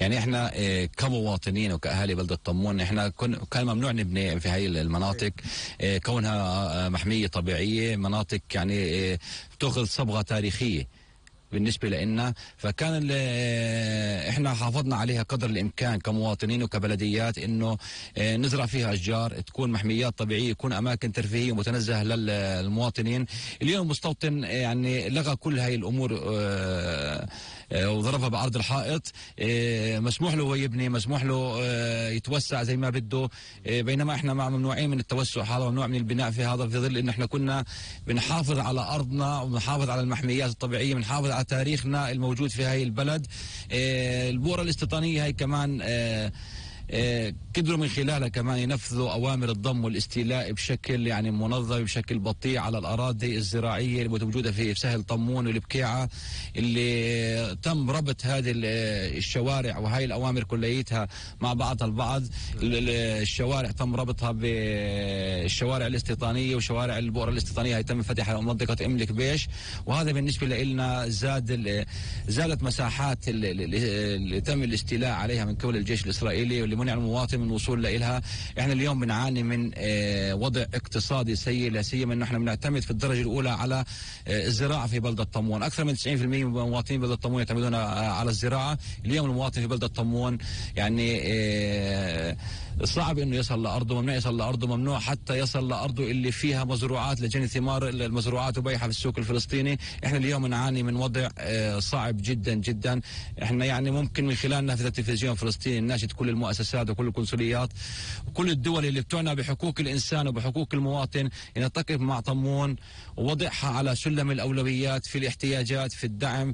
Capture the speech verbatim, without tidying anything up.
يعني احنا اه كمواطنين وكاهالي بلده طمون احنا كان ممنوع نبني في هاي المناطق اه كونها محميه طبيعيه، مناطق يعني اه بتاخذ صبغه تاريخيه بالنسبة لنا، فكان احنا حافظنا عليها قدر الامكان كمواطنين وكبلديات انه نزرع فيها اشجار، تكون محميات طبيعية، يكون اماكن ترفيهية متنزهة للمواطنين. اليوم المستوطن يعني لغى كل هاي الامور وضربها بأرض الحائط، مسموح له هو يبني، مسموح له يتوسع زي ما بده، بينما احنا مع ممنوعين من التوسع هذا، ممنوع من البناء في هذا، في ظل ان احنا كنا بنحافظ على ارضنا وبنحافظ على المحميات الطبيعية، بنحافظ على تاريخنا الموجود في هاي البلد. البؤرة الاستيطانية هاي كمان قدروا من خلالها كمان ينفذوا أوامر الضم والاستيلاء بشكل يعني منظم، بشكل بطيء على الأراضي الزراعية الموجودة في سهل طمون والبكيعة، اللي تم ربط هذه الشوارع وهي الأوامر كليتها مع بعضها البعض. الشوارع تم ربطها بالشوارع الاستيطانية وشوارع البؤرة الاستيطانية هي تم فتحها منطقة إملك بيش، وهذا بالنسبة لنا زاد زادت مساحات اللي تم الاستيلاء عليها من قبل الجيش الإسرائيلي، واللي منع المواطن من الوصول لها. احنا اليوم بنعاني من اه وضع اقتصادي سيء، لا سيما انه احنا بنعتمد في الدرجه الاولى على اه الزراعه في بلده طمون. اكثر من تسعين بالمئة من مواطنين بلده طمون يعتمدون اه على الزراعه. اليوم المواطن في بلده طمون يعني اه صعب انه يصل لارضه، ممنوع يصل لارضه، ممنوع حتى يصل لارضه اللي فيها مزروعات لجني ثمار المزروعات وبيعها في السوق الفلسطيني. احنا اليوم نعاني من وضع اه صعب جدا جدا. احنا يعني ممكن من خلال نافذه التلفزيون الفلسطيني نناشد كل المؤسسات وكل القنصليات وكل الدول اللي بتعنى بحقوق الانسان وبحقوق المواطن ان تقف مع طمون ووضعها على سلم الاولويات في الاحتياجات في الدعم.